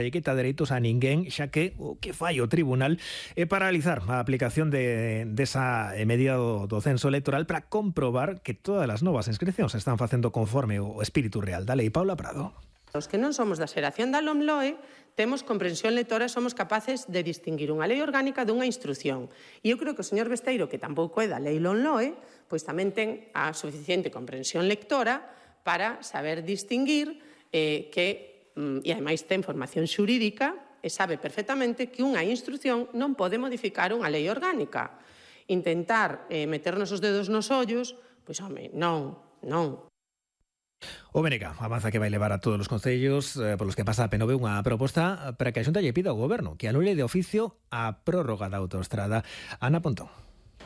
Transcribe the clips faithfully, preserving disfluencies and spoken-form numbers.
e quita dereitos a ninguén, xa que o que fai o tribunal é paralizar a aplicación de, desa medida do, do censo electoral para comprobar que todas as novas inscripcións se están facendo conforme o espírito real da lei. Paula Prado. Os que non somos da xeración da LOMLOE temos comprensión lectora e somos capaces de distinguir unha lei orgánica dunha instrucción. E eu creo que o señor Besteiro, que tampouco é da lei LOMLOE, pois tamén ten a suficiente comprensión lectora para saber distinguir eh, que e ademais ten formación xurídica e sabe perfectamente que unha instrucción non pode modificar unha lei orgánica. Intentar eh, meternos os dedos nos ollos, pois, home, non, non. O B N K avanza que vai levar a todos os concellos eh, polos que pasa a P N V unha proposta para que a Xunta lle pida ao Goberno que anule de oficio a prórroga da autoestrada. Ana Pontón.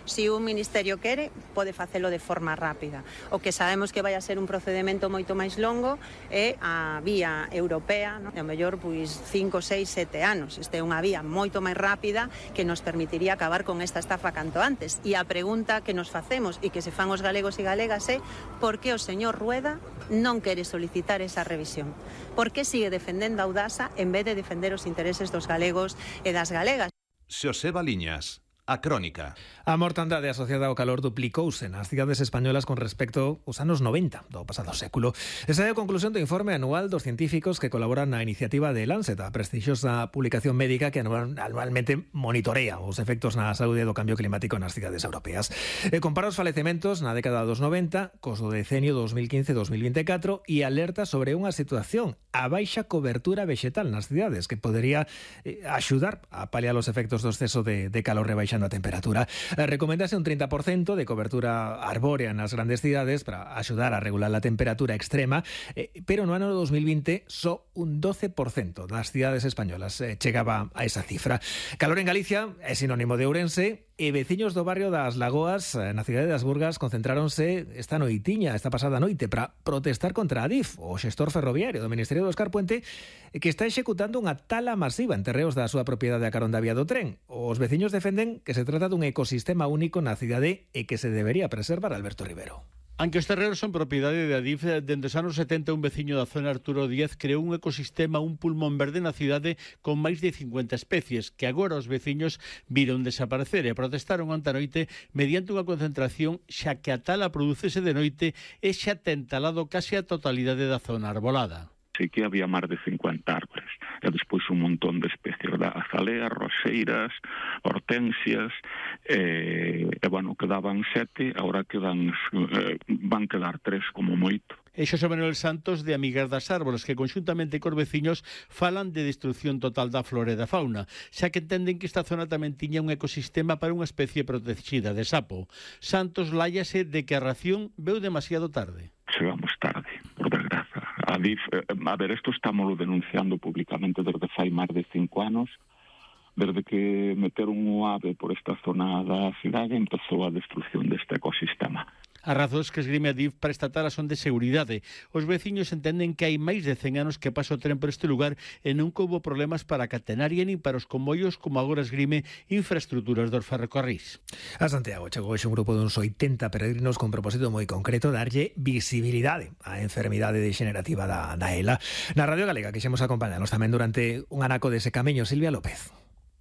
Si un ministerio quere, pode facelo de forma rápida. O que sabemos que vai a ser un procedimento moito máis longo é a vía europea, non? E ao mellor pois cinco, seis, sete anos. Esta é unha vía moito máis rápida que nos permitiría acabar con esta estafa canto antes. E a pregunta que nos facemos e que se fan os galegos e galegas é por que o señor Rueda non quere solicitar esa revisión? Por que sigue defendendo a Audasa en vez de defender os intereses dos galegos e das galegas? Xosé Baliñas. A crónica. A mortandade asociada ao calor duplicouse nas cidades españolas con respecto aos anos noventa do pasado século. Esa é a conclusión do informe anual dos científicos que colaboran na iniciativa de Lancet, a prestixiosa publicación médica que anualmente monitorea os efectos na saúde do cambio climático nas cidades europeas. E compara os falecementos na década dos noventa cos do decenio dos mil quince a dos mil vinte e catro e alerta sobre unha situación a baixa cobertura vexetal nas cidades que podería eh, axudar a paliar os efectos do exceso de, de calor rebaixado a temperatura. Recomendase un trinta por cento de cobertura arbórea nas grandes cidades para axudar a regular a temperatura extrema, eh, pero no ano dos mil vinte só un doce por cento das cidades españolas eh, chegaba a esa cifra. Calor en Galicia é sinónimo de Ourense e veciños do barrio das Lagoas na cidade das Burgas concentráronse esta noitiña, esta pasada noite, para protestar contra a Adif, o xestor ferroviario do Ministerio do Óscar Puente, que está executando unha tala masiva en terreos da súa propiedade a carón da vía do tren. Os veciños defenden que se trata dun ecosistema único na cidade e que se debería preservar. Alberto Rivero. Aunque os terreos son propiedade de Adif, dende os anos setenta un veciño da zona Arturo Díaz creou un ecosistema, un pulmón verde na cidade con máis de cincuenta especies que agora os veciños viron desaparecer e protestaron ante a noite mediante unha concentración xa que a tala producese de noite e xa ten talado case a totalidade da zona arbolada. Sí que había máis de cincuenta árbores e despois un montón de especies, da azaleas, roseiras, hortensias e, e bueno, quedaban sete, agora quedan eh, van quedar tres como moito. E Xosé Manuel Santos de Amigas das Árboles, que conxuntamente cos veciños falan de destrucción total da flora e da fauna, xa que entenden que esta zona tamén tiña un ecosistema para unha especie protegida de sapo. Santos láiase de que a ración veu demasiado tarde. Chegamos tarde, por desgraza. A Adif, a ver, isto estámoslo denunciando públicamente desde fai máis de cinco anos, desde que meteron un ave por esta zona da cidade empezou a destrucción deste ecosistema. As razóns que esgrime a Adif para esta tala son de seguridade. Os veciños entenden que hai máis de cen anos que pasa o tren por este lugar e nunca houbo problemas para a catenaria nin para os convoios, como agora esgrime infraestructuras dos ferrocarrís. A Santiago chegou hoxe un grupo de uns oitenta peregrinos con propósito moi concreto darlle visibilidade á enfermidade degenerativa da, da ELA. Na Radio Galega quixemos acompañarnos tamén durante un anaco dese camiño. Silvia López.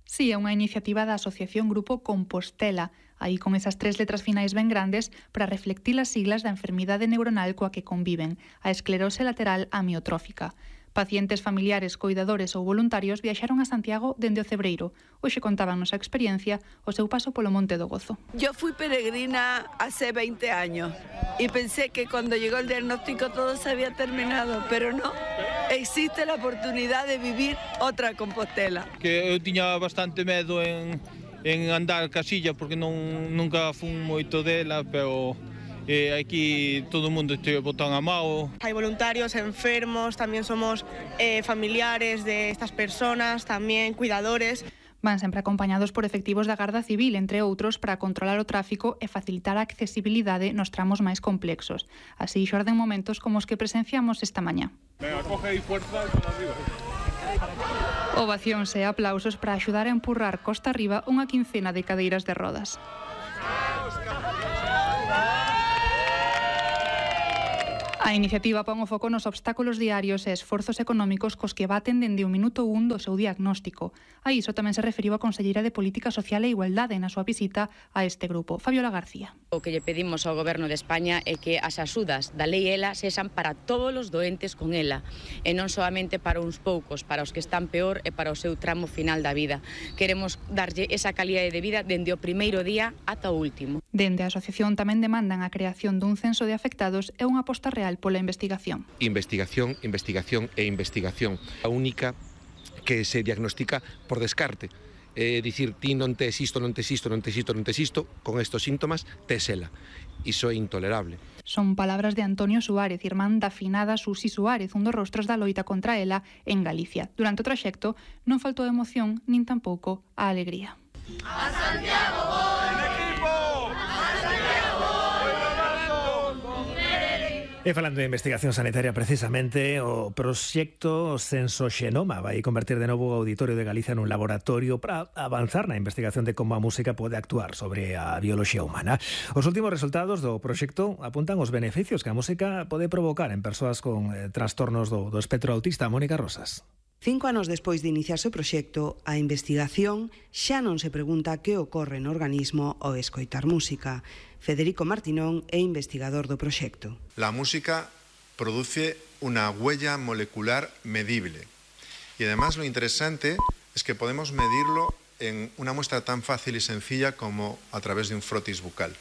Sí, é unha iniciativa da Asociación Grupo Compostela, aí con esas tres letras finais ben grandes para reflectir as siglas da enfermidade neuronal coa que conviven, a esclerose lateral amiotrófica. Pacientes, familiares, coidadores ou voluntarios viaxaron a Santiago dende o Cebreiro. Hoxe contaban nosa experiencia o seu paso polo Monte do Gozo. Yo fui peregrina hace veinte años y pensé que cuando llegó el diagnóstico todo se había terminado, pero no. Existe la oportunidad de vivir otra Compostela. Que eu tiña bastante medo en, en andar casilla porque non, nunca fun moito dela, pero... Eh, aquí todo o mundo este botón a mao. Hai voluntarios, enfermos, tamén somos eh, familiares de estas personas, tamén cuidadores. Van sempre acompañados por efectivos da Garda Civil, entre outros, para controlar o tráfico e facilitar a accesibilidade nos tramos máis complexos. Así xorden momentos como os que presenciamos esta mañá. Venga, coge aí fuerza para arriba. Ovacións e aplausos para axudar a empurrar costa arriba unha quincena de cadeiras de rodas. A iniciativa pon o foco nos obstáculos diarios e esforzos económicos cos que baten dende o minuto un do seu diagnóstico. A iso tamén se referiu a conselleira de Política Social e Igualdade na súa visita a este grupo, Fabiola García. O que lle pedimos ao Goberno de España é que as axudas da lei ELA sexan para todos os doentes con ELA e non solamente para uns poucos, para os que están peor e para o seu tramo final da vida. Queremos darlle esa calidade de vida dende o primeiro día ata o último. Dende a asociación tamén demandan a creación dun censo de afectados e unha aposta real pola investigación. Investigación, investigación e investigación. A única que se diagnostica por descarte. É dicir, ti non tes isto, non tes isto, non tes isto, non tes isto, con estos síntomas, tes ela. Iso é intolerable. Son palabras de Antonio Suárez, irmán da finada Susi Suárez, un dos rostros da loita contra ela en Galicia. Durante o traxecto non faltou emoción, nin tampouco a alegría. ¡A Santiago voy! ¡Equipo! ¡A Santiago voy! E falando de investigación sanitaria, precisamente, o proxecto Sensoxenoma vai convertir de novo o Auditorio de Galicia nun laboratorio para avanzar na investigación de como a música pode actuar sobre a bioloxía humana. Os últimos resultados do proxecto apuntan os beneficios que a música pode provocar en persoas con eh, trastornos do, do espectro autista. Mónica Rosas. Cinco anos despois de iniciarse o proxecto, a investigación xa non se pregunta que ocorre no organismo ao escoitar música. Federico Martinón é investigador do proxecto. La música produce una huella molecular medible. Y además lo interesante es que podemos medirlo en una muestra tan fácil y sencilla como a través de un frotis bucal.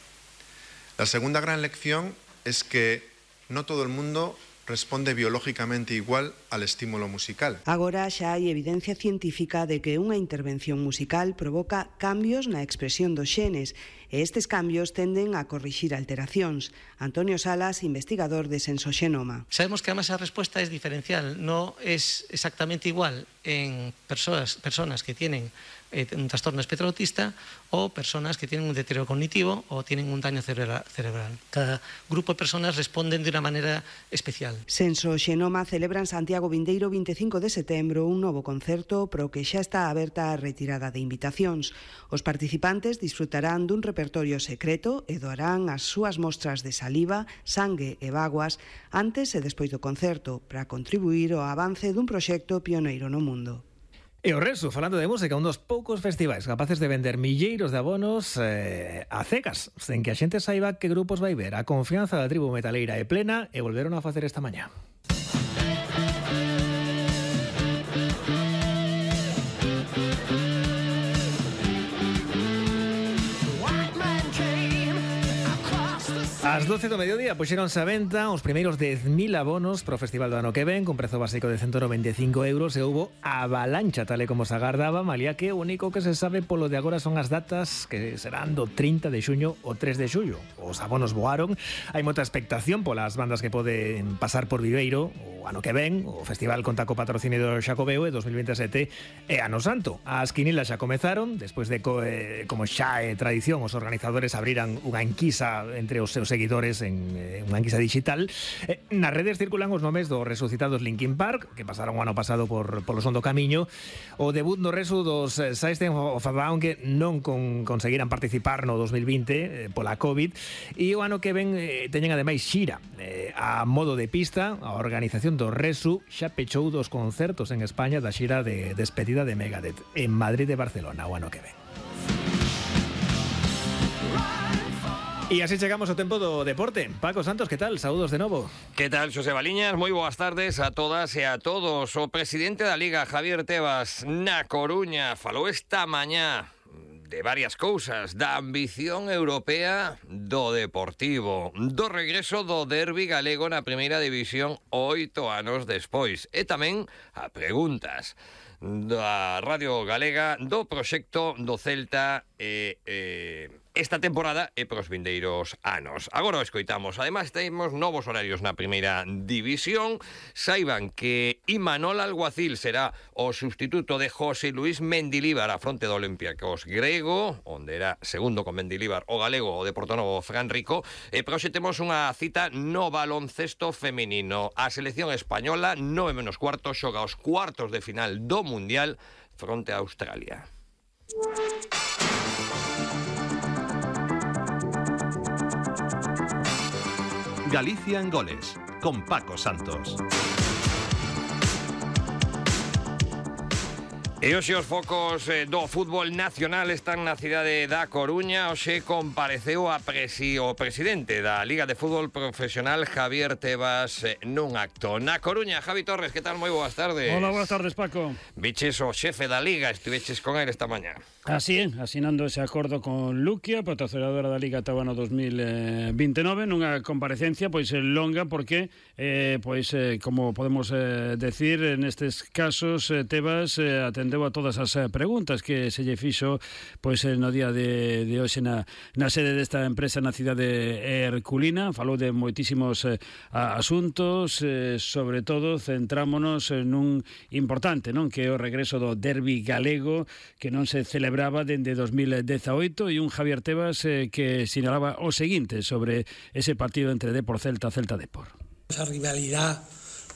La segunda gran lección es que no todo el mundo responde biológicamente igual al estímulo musical. Agora xa hai evidencia científica de que unha intervención musical provoca cambios na expresión dos xenes e estes cambios tenden a corrixir alteracións. Antonio Salas, investigador de Sensoxenoma. Sabemos que además a respuesta es diferencial, no es exactamente igual en persoas, personas que tienen eh, un trastorno espectro autista o personas que tienen un deterioro cognitivo o tienen un daño cerebral. Cada grupo de personas responden de una manera especial. Sensoxenoma celebra en Santiago vindeiro veinticinco de setembro un novo concerto pro que xa está aberta a retirada de invitacións. Os participantes disfrutarán dun repertorio secreto e doarán as súas mostras de saliva, sangue e vaguas antes e despois do concerto para contribuir ao avance dun proxecto pioneiro no mundo. E o Resu, falando de música, un dos poucos festivais capaces de vender milleiros de abonos eh, a cegas, sen que a xente saiba que grupos vai ver. A confianza da tribu metaleira é plena e volveron a facer esta mañá. Ás doce do mediodía puxeronse a venta os primeiros dez mil abonos pro festival do ano que ven, con prezo básico de ciento noventa e cinco euros, e houbo avalancha, tal e como se agardaba, malia que o único que se sabe polo de agora son as datas que serán do trinta de xuño o tres de xullo. Os abonos voaron, hai moita expectación polas bandas que poden pasar por Viveiro o ano que ven. O festival conta co patrocinio do Xacobeo e dos mil veintisiete é ano santo. As quinilas xa comezaron, despois de co, eh, como xa é tradición, os organizadores abriran unha enquisa entre os seus seguidores en eh, unha enquisa digital. Eh, nas redes circulan os nomes dos resucitados Linkin Park, que pasaron o ano pasado por polo son do camiño, o debut no resu dos eh, System of a Down, que non con, conseguiran participar no dos mil vinte eh, pola COVID, e o ano que ven eh, teñen ademais xira eh, a modo de pista. A organización do resu xa pechou dos concertos en España da xira de despedida de Megadeth en Madrid e Barcelona o ano que ven. E así chegamos ao tempo do deporte. Paco Santos, que tal? Saúdos de novo. Que tal, Xosé Baliñas? Moi boas tardes a todas e a todos. O presidente da Liga, Javier Tebas, na Coruña, falou esta mañá de varias cousas, da ambición europea do Deportivo, do regreso do derbi galego na primeira división oito anos despois, e tamén a preguntas da Radio Galega do proxecto do Celta e, e esta temporada e pros vindeiros anos. Agora o escoitamos. Ademais, temos novos horarios na primeira división. Saiban que Imanol Alguacil será o sustituto de José Luis Mendilíbar a fronte do Olympiacos grego, onde era segundo con Mendilíbar o galego, o de Portonovo Fran Rico. E proxe temos unha cita no baloncesto feminino. A selección española, nove menos cuarto, xoga os cuartos de final do Mundial fronte a Australia. Galicia en goles, con Paco Santos. E hoxe os focos eh, do fútbol nacional están na cidade da Coruña. Hoxe compareceu a presi, o presidente da Liga de Fútbol Profesional, Javier Tebas, eh, nun acto. Na Coruña, Javi Torres, que tal? Moi boas tardes. Hola, boas tardes, Paco. Viches o xefe da Liga, estiveches con ele esta mañá. Así é, asinando ese acordo con Luquia, patrocinadora da Liga ata o ano dos mil veintinove, nunha comparecencia pois longa porque eh, pois eh, como podemos eh, decir, nestes casos eh, Tebas eh, atendeu a todas as eh, preguntas que se lle fixo pois eh, no día de, de hoxe na, na sede desta empresa na cidade herculina. Falou de moitísimos eh, asuntos, eh, sobre todo centrámonos nun importante, non, que é o regreso do derbi galego que non se celebra brava dende dos mil dezaoito e un Javier Tebas eh, que sinalaba o seguinte sobre ese partido entre Depor Celta, Celta Depor. Esa rivalidad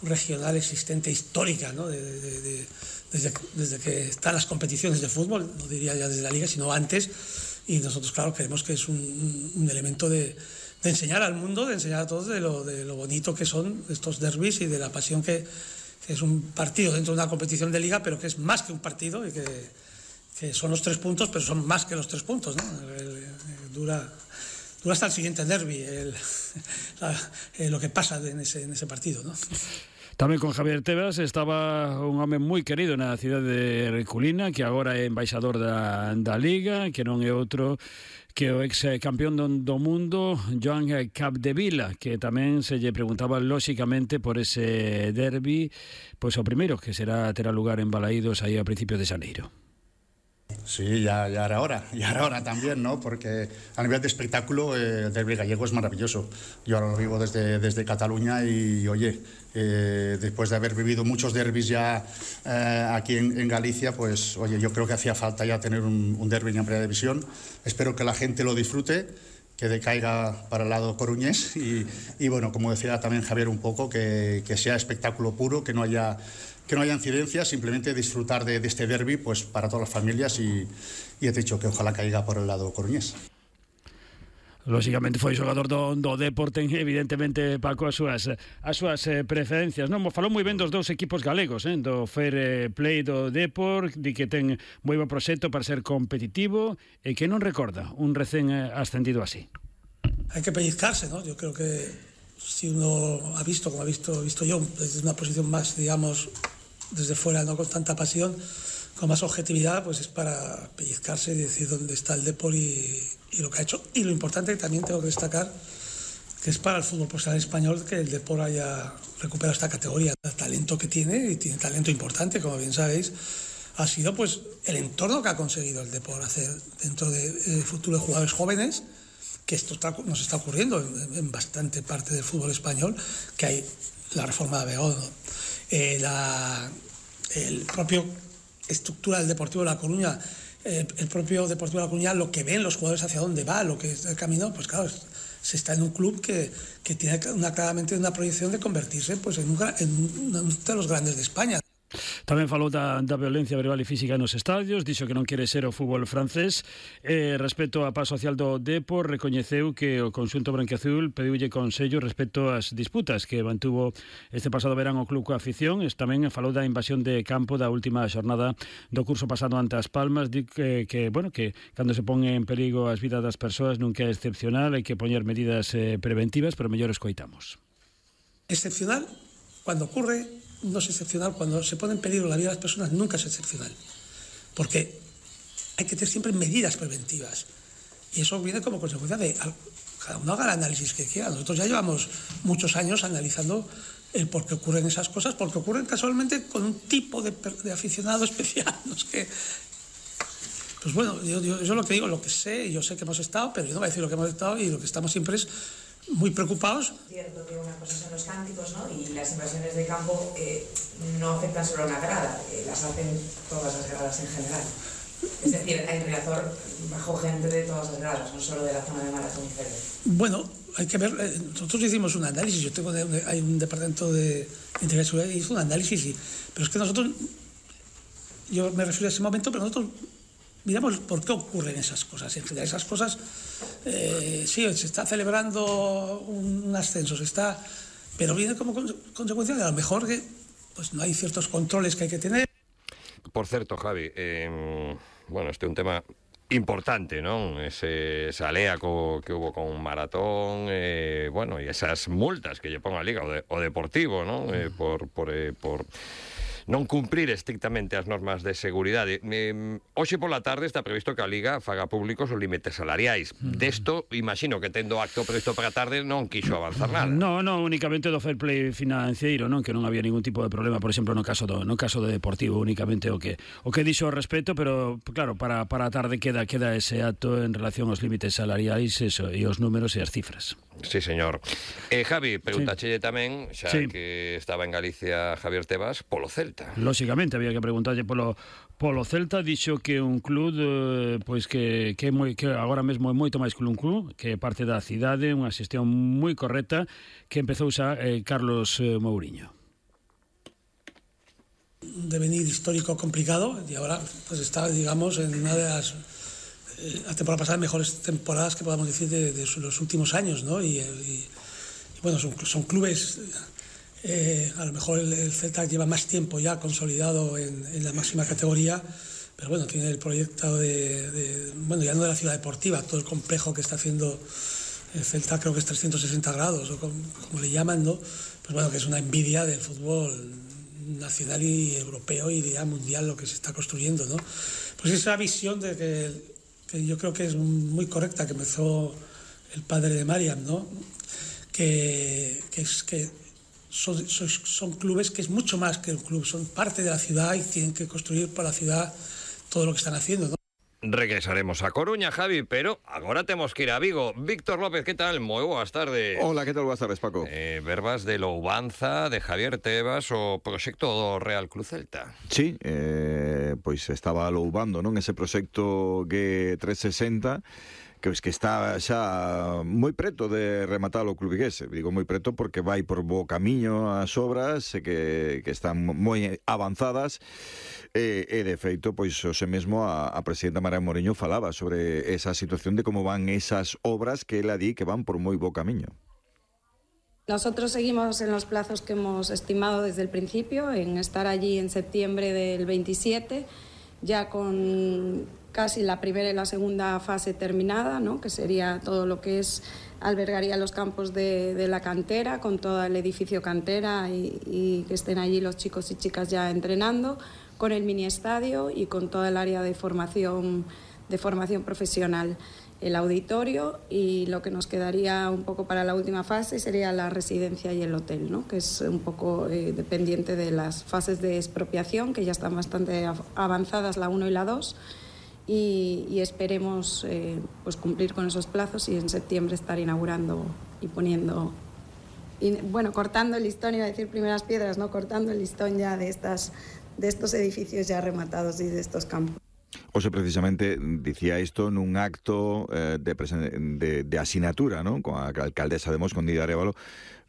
regional existente, histórica, ¿no? de, de, de, desde, desde que están las competiciones de fútbol, no diría ya desde la Liga, sino antes, y nosotros, claro, creemos que es un, un elemento de, de enseñar al mundo, de enseñar a todos de lo, de lo bonito que son estos derbis y de la pasión que, que es un partido dentro de una competición de Liga, pero que es más que un partido y que que son los tres puntos, pero son más que los tres puntos, ¿no? El, el, el, dura, dura hasta el siguiente derbi, el, la, el, lo que pasa en ese, en ese partido, ¿no? Tamén con Javier Tebas estaba un home moi querido na cidade de Herculina, que agora é embaixador da, da Liga, que non é outro que o ex campeón do, do mundo, Joan Capdevila, que tamén se lle preguntaba lóxicamente por ese derbi, pois o primeiro, que será terá lugar en Balaídos aí a principios de xaneiro. Sí, ya, ya era hora, ya era hora también, ¿no? Porque a nivel de espectáculo eh, el derbi gallego es maravilloso. Yo ahora lo vivo desde, desde Cataluña y, oye, eh, después de haber vivido muchos derbis ya eh, aquí en, en Galicia, pues, oye, yo creo que hacía falta ya tener un, un derbi en primera división. Espero que la gente lo disfrute, que decaiga para el lado coruñés y, y bueno, como decía también Javier un poco, que, que sea espectáculo puro, que no haya... que no haya incidencias, simplemente disfrutar de, de este derbi pues, para todas las familias y, y he dicho que ojalá caiga por el lado coruñés. Lóxicamente foi xogador do, do Depor, ten evidentemente, Paco, as súas, as súas eh, preferencias, non? Falou moi ben dos dous equipos galegos, eh? Do fair eh, play do Depor, di que ten moi bo proxecto para ser competitivo e que non recorda un recén eh, ascendido así. Hay que pellizcarse, ¿no? Yo creo que si uno ha visto, como ha visto, visto yo, desde una posición más, digamos, desde fuera, no con tanta pasión, con más objetividad, pues es para pellizcarse y decir dónde está el Depor y, y lo que ha hecho. Y lo importante que también tengo que destacar, que es para el fútbol profesional español que el Depor haya recuperado esta categoría. El talento que tiene, y tiene talento importante, como bien sabéis, ha sido pues el entorno que ha conseguido el Depor hacer dentro de eh, futuro de jugadores jóvenes, que esto está, nos está ocurriendo en, en bastante parte del fútbol español, que hay la reforma de Abegón, ¿no? eh, la el propio estructura del Deportivo de La Coruña, eh, el propio Deportivo de La Coruña, lo que ven los jugadores hacia dónde va, lo que es el camino, pues claro, es, se está en un club que, que tiene una, claramente una proyección de convertirse pues, en, un, en uno de los grandes de España. Tamén falou da, da violencia verbal e física nos estadios, dixo que non quere ser o fútbol francés. Eh, respecto á paz social do Depor, recoñeceu que o conxunto branquiazul pediulle consello respecto ás disputas que mantuvo este pasado verán o club coa afición. Tamén falou da invasión de campo da última xornada do curso pasado ante As Palmas, di que, que, bueno, que cando se pon en perigo as vidas das persoas nunca é excepcional, hai que poñer medidas eh, preventivas, pero mellor escoitamos. Excepcional cuando ocurre, no es excepcional cuando se pone en peligro la vida de las personas, nunca es excepcional, porque hay que tener siempre medidas preventivas y eso viene como consecuencia de cada uno haga el análisis que quiera. Nosotros ya llevamos muchos años analizando el por qué ocurren esas cosas, porque ocurren casualmente con un tipo de, de aficionado especial, no es que pues bueno, yo, yo, yo lo que digo, lo que sé, yo sé que hemos estado, pero yo no voy a decir lo que hemos estado, y lo que estamos siempre es muy preocupados. Cierto que una cosa son los cánticos, ¿no? Y las invasiones de campo eh, no afectan solo a una grada, eh, las hacen todas las gradas en general. Es decir, en Riazor bajó gente de todas las gradas, no solo de la zona de Maratón y Fede. Bueno, hay que ver, eh, nosotros hicimos un análisis, yo tengo de, hay un departamento de Integridad y Seguridad y hizo un análisis, y, pero es que nosotros, yo me refiero a ese momento, pero nosotros miramos por qué ocurren esas cosas. En general, esas cosas, eh, sí, se está celebrando un, un ascenso, se está, pero viene como con, consecuencia de a lo mejor que pues no hay ciertos controles que hay que tener. Por certo, Javi, eh, bueno, este é un tema importante, non? Ese, esa lea co, que hubo con Maratón, eh, bueno, e esas multas que lle pon a Liga o, de, o Deportivo, non? Eh, por, por, eh, por non cumprir estrictamente as normas de seguridade. Eh, hoxe pola tarde está previsto que a Liga faga públicos os límites salariais. Mm. Desto, imagino que tendo acto previsto para a tarde non quixo avanzar nada. No, no, únicamente do fair play financeiro, non, que non había ningún tipo de problema, por exemplo, no caso do no caso do Deportivo, únicamente o que o que dixo ao respecto, pero claro, para para a tarde queda queda ese acto en relación aos límites salariais, eso, e os números e as cifras. Sí, señor. Eh, Javi, pregúntachelle sí. tamén, xa sí. que estaba en Galicia Javier Tebas, polo Celta. Lóxicamente, había que preguntarlle polo polo Celta, dixo que un club eh, pois que que, moi, que agora mesmo é moito máis que un club, que é parte da cidade, unha xestión moi correcta que empezou xa eh, Carlos eh, Mouriño. Devenir histórico complicado y ahora pues está, digamos, en una de las eh, la temporada pasada mejores temporadas que podamos decir de, de los últimos años, ¿no? Y, y, y bueno, son, son clubes. Eh, a lo mejor el, el Celta lleva más tiempo ya consolidado en, en la máxima categoría, pero bueno, tiene el proyecto de, de, bueno, ya no de la ciudad deportiva, todo el complejo que está haciendo el Celta, creo que es trescientos sesenta grados, o como, como le llaman, ¿no? Pues bueno, que es una envidia del fútbol nacional y europeo y ya mundial lo que se está construyendo, ¿no? Pues esa visión de que, que yo creo que es muy correcta, que empezó el padre de Mariam, ¿no? Que, que es que Son, son, son clubes que es mucho más que un club, son parte de la ciudad y tienen que construir para la ciudad todo lo que están haciendo, ¿no? Regresaremos a Coruña, Javi, pero agora temos que ir a Vigo. Víctor López, que tal? Moi boas tardes. Hola, que tal? Boas tardes, Paco. Eh, verbas de louvanza de Javier Tebas o proxecto do Real Club Celta. Sí, eh, pois estaba louvando, non, ese proxecto G trescentos sesenta, que es que está xa moi preto de rematar o club vigués. Digo moi preto porque vai por bo camiño as obras que, que están moi avanzadas e, e de feito, pois hoxe mesmo a, a presidenta Mariam Mouriño falaba sobre esa situación de como van esas obras que ela di que van por moi bo camiño. Nosotros seguimos en los plazos que hemos estimado desde el principio, en estar allí en septiembre del veintisiete, ya con casi la primera y la segunda fase terminada, ¿no? Que sería todo lo que es, albergaría los campos de, de la cantera, con todo el edificio cantera y, y que estén allí los chicos y chicas ya entrenando, con el mini estadio y con toda el área de formación, de formación profesional, el auditorio, y lo que nos quedaría un poco para la última fase sería la residencia y el hotel, ¿no? Que es un poco eh, dependiente de las fases de expropiación, que ya están bastante avanzadas la uno y la dos, y, y esperemos eh, pues cumplir con esos plazos y en septiembre estar inaugurando y poniendo, y, bueno, cortando el listón, iba a decir primeras piedras, no, cortando el listón ya de, estas, de estos edificios ya rematados y de estos campos. Oxe, precisamente, dicía isto nun acto eh, de, de, de asinatura, ¿no? Con a alcaldesa de Mos, con Dida Arévalo,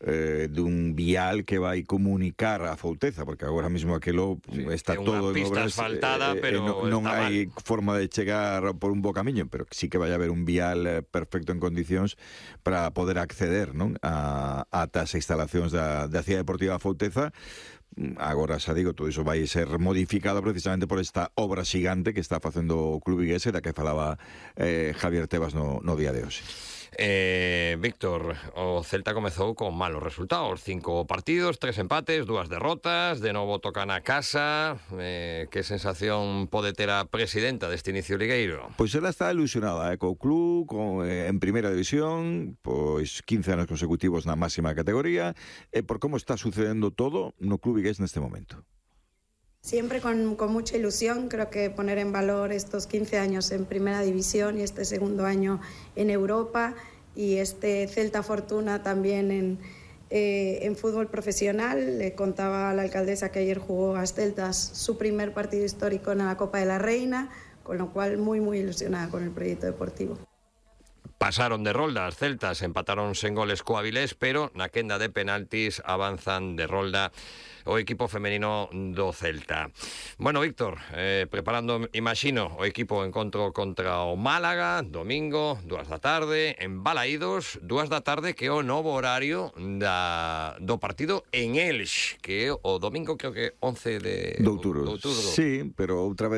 eh, dun vial que vai comunicar a Fouteza, porque agora mesmo aquilo sí, está todo en obras, asfaltada, eh, pero eh, non, non hai mal. Forma de chegar por un bo camiño, pero sí que vai haber un vial eh, perfecto en condicións para poder acceder, non? A, a tas instalacións da, da Cidade Deportiva Fouteza. Agora xa digo, todo iso vai ser modificado precisamente por esta obra xigante que está facendo o club vigués, da que falaba eh, Javier Tebas no, no día de hoxe. Eh, Víctor, o Celta comezou con malos resultados, cinco partidos, tres empates, dúas derrotas, de novo tocan a casa. Eh, que sensación pode ter a presidenta deste inicio ligueiro? Pois ela está ilusionada, eh, co club, con, eh, en primeira división, pois quince anos consecutivos na máxima categoría, e por como está sucedendo todo no club vigués neste momento. Siempre con, con mucha ilusión, creo que poner en valor estos quince años en Primera División y este segundo año en Europa y este Celta Fortuna también en, eh, en fútbol profesional. Le contaba a la alcaldesa que ayer jugó a Celtas su primer partido histórico en la Copa de la Reina, con lo cual muy, muy ilusionada con el proyecto deportivo. pasaron de rolda as celtas, empataron sen goles co Avilés, pero na quenda de penaltis avanzan de rolda o equipo femenino do Celta. Bueno, Víctor, eh, preparando, imagino, o equipo encontro contra o Málaga, domingo, dúas da tarde, en Balaídos, dúas da tarde, que é o novo horario da, do partido en Elx, que é o domingo, creo que once de outubro. outubro. Sí, pero outra vez